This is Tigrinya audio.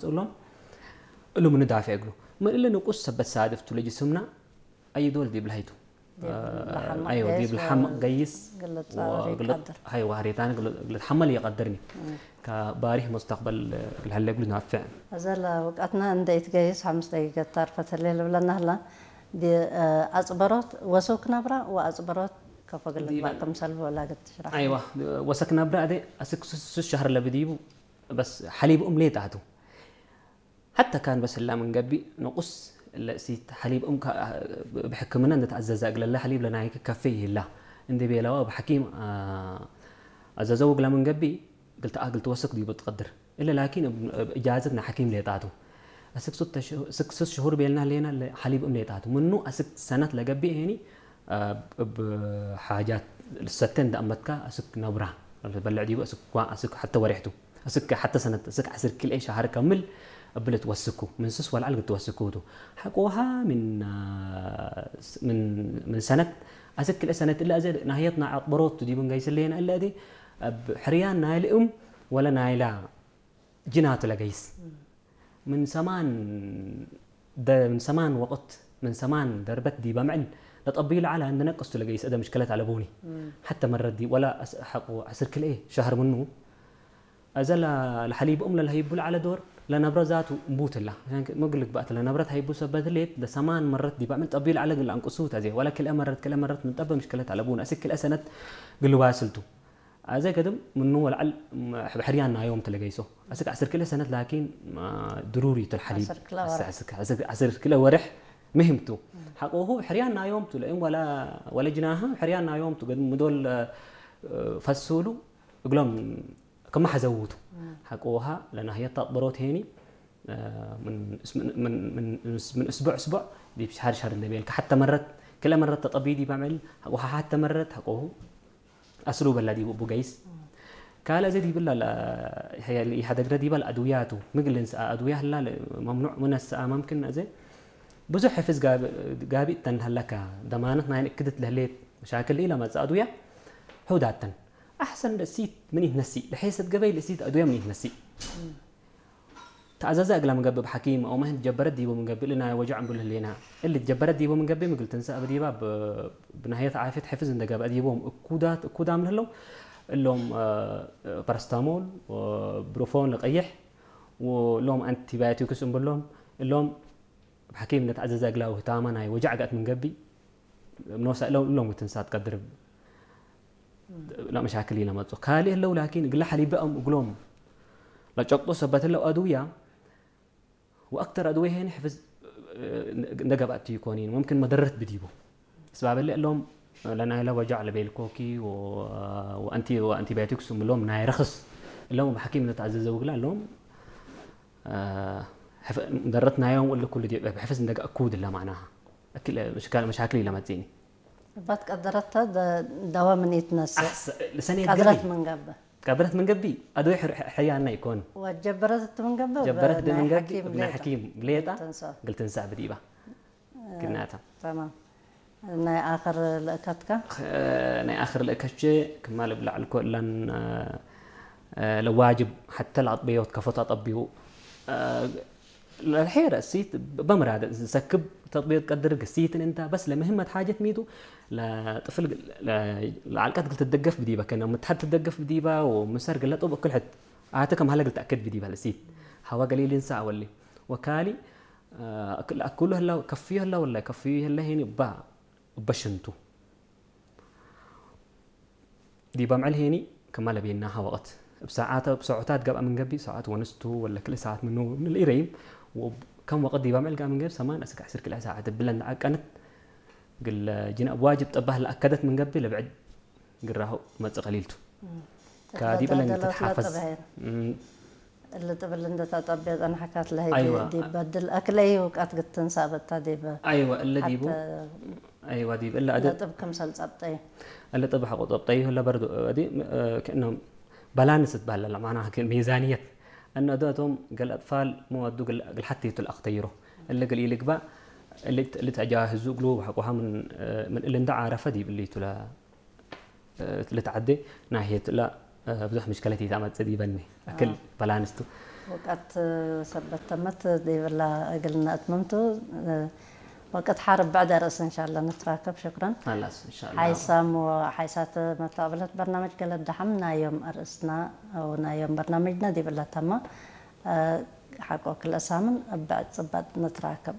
ጽሎም እሉ ምንዳፊዕ እግሉ ምን እለ ንቁስ ሰበት ሳድፍቱ ለጅስምና ኣይዶል ዲብል ሃይቱ ዲብል ሓመቕ ኣይወ ገይስ ዲብል ሓመቕ ገይስ ግልጽ ጻዕሪ ይቀድር። ሃይ ዋህሬታን ግልጽ ሓመል ይቀድርኒ ከባሪህ መስተቅበል ግልሃለ እግሉ ናፍዕ እዘ ለውቃትና እንደ ኢትገይስ ሓሙስ ደቂቀ ታርፈት ህሌ ልብለና ህላ ኣጽበሮት ወሰው ክነብራ ወኣጽበሮት ከፎ ግልጽ ባቅም ሰልፍ ወላገት ትሽራሕ ኣይዋ ወሰክ ናብራ ኣደ ኣስክ ሱስ ሻህር ለብዲቡ በስ ሓሊብ እም ሌጣቱ ሓታ ካን በስላ ምን ገቢ ንቁስ ለእሲት ሓሊብ እም ብሕክምና እንደተኣዘዘ እግለላ ሓሊብ ለናይክ ከፌ ይህላ እንደ ቤላዋ ብሓኪም ኣዘዘው እግላ ምን ገቢ ግልተኣ ግልትወስክ ዲቡ ትቀድር እለ ላኪን እጃዘት ንሓኪም ሌጣቱ ኣስክ ሱስ ሽሁር ቤልና ሌና ሓሊብ እም ሌጣቱ ምኑ ኣስክ ሰነት ለገቢ ሄኒ እብ ሓጃት ልሰተ እንዳእመትካ እስክ ነብራ በልዕ ዲቡ እስክ ኳ እስክ ሓተ ወሬሕቱ እስክ ሓተ ሰነት እስክ ዓስር ኪልኤ ሻሃር ከምል እብል ትወስኩ ምን ስስ ወልዓል ክትወስኩ ቱ ሓቆሃ ምን ምን ሰነት ኣስክ ክልኤ ሰነት እላ እዘ ናህየትና ኣቅበሮት ዲቡ ንገይስለየና እለ እዲ ኣብ ሕርያን ናይልእም ወለ ናይላ ጅናቱ ለገይስ ምን ሰማን ደ- ምን ሰማን ወቅት ምን ሰማን ደርበት ዲበ ምዕል ለጠብዩ ለዓላ እንደ ነቅስቱ ለገይስ እደ ምሽከለት ኣለቦኒ ሓተ መረት ዲ ወላ ኣስ- ሓቁ ዓስር ክልኤ ሸህር ምኑ እዘ ለ- ለሐሊብኦም ለለሀይቡ ለዓለ ዶር ለነብረ ዛቱ እምቡትላ መግልግ ባእት ለነብረት ሀይቡ ሰበት ሌት ለሰማን መረት ዲበ ምዕል ጠብዩ ለዓለ ግል አንቅሱ ተዜ ወላ ክልኤ መረት ክልኤ መረት ምን ጠበ ምሽከለት ኣለቦኒ እስክ ክልኤ ሰነት ግልዋስልቱ ኣዘ ገድም ምኑ ወልዓል ሕርያን ናዮም ትለገይሶ ኣስክ ዓስር ክልኤ ሰነት ላኪን ድሩሪ ትልሓሊብ ዓስር ክልኤ ወርሕ። ዓስር ክልኤ ወርሕ ምህምቱ ሓቆሁ ሕርያን ናዮም ቱ ለእም ወላ ወለ ጅናሃ ሕርያን ናዮም ቱ ገድም ምዶል ፈሱሉ እግሎም ከመሓዘውቱ ሓቆሃ ለናህየት ታጥበሮት ሄኒ ምን እስቡዕ እስቡዕ ዲብ ሻሃር ሻሃር እንደቤልካ ሓተ መረት ክልኤ መረት ተጠብዩ ዲብ ኣምዕል ሓቆሃ ሓተ መረት ሓቆሁ ኣስሉ በላ ዲቡ ቡገይስ ካልእ እዚ ዲብላ ኢሓደግረ ዲባል ኣድውያቱ ምግልን ሰኣ ኣድውያ ህላ መምኑዕ ምነ ሰኣ መምክን እዚ ብዙሕ ሕፍዝ ጋቢእ ተንሃለካ ደማነት ናይ ንእክድት ለህሌት መሻክል ኢላ መጽእ ኣድውያ ሕውዳተን ኣሕሰን ለእሲት ምን ይትነሲ ለሐሰት ገበይ ለእሲት ኣድውያ ምን ይትነሲ ተኣዘዘ እግላ ምንገብእ ብሓኪም ኣው ማህን ጀበረት ዲቦ ምንገብእ ልናይ ወጃዕ እንብልህ ሌና እሊ ጀበረት ዲቦ ምንገብእ ምግል ትንሳእ ብዲባ ብናህየት ዓፊት ሕፍዝ እንደገበ ዲቦም እኩዳት እኩዳም ልህለው እሎም ፓራስታሞል ብሮፎን ለቀይሕ እሎም ኣንቲባዮቲክስ እንብሎም እሎም ብሓኪም ነተኣዘዘ እግላዊ ህታማ ናይ ወጃዕ ገእት ምንገቢ ምኖሳ እሎም እሎም ትንሳት ቀድርብ لا مشاكل إلى ما تقال إلا ولكن قل حليب أم قلوم لا تشقطوا سبت له أدوية وأكثر أدوية هنا حفظ نقب أتي كونين ممكن مدرت بديبو سبب اللي لهم لنا إلى وجع لبيل كوكي و... وأنتي وأنتي بايوتكس لهم ناي رخص لهم بحكيم نتعزز وقلا لهم درتنا يوم ولا كل دي بحفظ ندق أكود لا معناها أكل مشكلة مشاكل إلى ما تزيني ባት ቀደረታ ደዋ ምን ይትነስእ لسنة ቀድረት ምንገብእ ቀድረት ምንገቢ ኣድወይ ሕርያና ይኮን ወጀበረት ምንገብእ ጀበረት ናይ ምንገቢ ሓኪም ናይ ሌጣ ሓኪም ሌጣ ትንሳ ግልትንሳ ብዲባ ግናታ ተማም ናይ ኣኸር ልእከትካ ናይ ኣኽር ልእከቼ ክማል ብላዕል ኮ እለን ለዋጅብ ሓተ ለኣጥበዮት ከፎት ኣጠቢው ለልሐ ረእሲት በምራደ ዝሰክብ ተጥቢዮት ቀድር ግሲትን እንታ በስ ለምህመት ሓጀት ሚቱ ለጥፍል ለዓልቀት ግል ትደገፍ ብዲባ ከነ ምትሓድ ትደገፍ ብዲባ ወምሰር ግለ ጡብ እክል ሕት ኣተ ከም ሃለ ግል ተኣክድ ብዲባ ለሲት ሃዋ ገሊል እንሳ ኣወሊ ወካሊ ኣክሉ ህላ ከፍዮ ህላ ወላ ከፍዮ ህላ ሄኒ እባ እበሽንቱ ዲባ ምዕል ሄኒ ከማ ለቤናሃ ወቅት እብ ሰዓተ እብ ሰዑታት ገብኣ ምን ገቢ ሰዓት ወንስቱ ወለ ክልኤ ሰዓት ምኑ ንልኢረይም ከም ወቅት ዲባ ምዕል ገብኣ ምን ገቢ ሰማን እስክ ዕስር ክልኤ ሰዓት ብለን ዓቀነት ግለ ጅና እብ ዋጅብ ጠባህ ለኣከደት ምን ገቢ ለብዕድ ግራሁ መጽእ ቀሊልቱ ካዲ በለን ተተዳደለት ትትሓፈዝ ለጥበ ሄን። እሊ ጥብል እንደ ተጠብየ ጸንሐካት ለህይ ኣይዋ። ዲብ በድል ኣክለይ ውቃት ግትንሳ በታ ዲብ ኣይዋ እለ ዲቡ ኣይዋ ዲብ እለ ኣደ ለጥብ ክምሰል ጸብጠይ እለ ጥብ ሓቆ ጸብጠይ እለ በርዶ ኣዲ ከእነ ባላንስ ትባል ኣላ ማና ሚዛንየት እነ ኣዶ እቶም ገል ኣጥፋል መወዱ ግል ሓቲቱ ለኣክተይሮ እለ ግል ኢልግባ እለ ተጃህዙ እግሉ ሓቆሃ ምን ምን እለ እንዳ ዓረፈ ዲብ እሊቱ ለ ልትዓደ ናሄት ላ ብዙሕ ምሽከለት ይታመጽእ ዲበኒ ኣክል ባላንስቱ ወቀት ሰበት ተመት ዲብላ እግልና እትመምቱ ወቀት ሓር ብዕድ ርእስ እንሻላ ንትራከብ። ሽክረን خلاص إن شاء الله ሓይሳም ሓይሳት መታብለት በርናመጅ ገለ ዳሕም ናዮም ኣርእስና ናዮም በርናመጅና ዲብላ ተማ ሓቆ ክልእሳምን ብዕድ ጽባጥ ንትራከብ።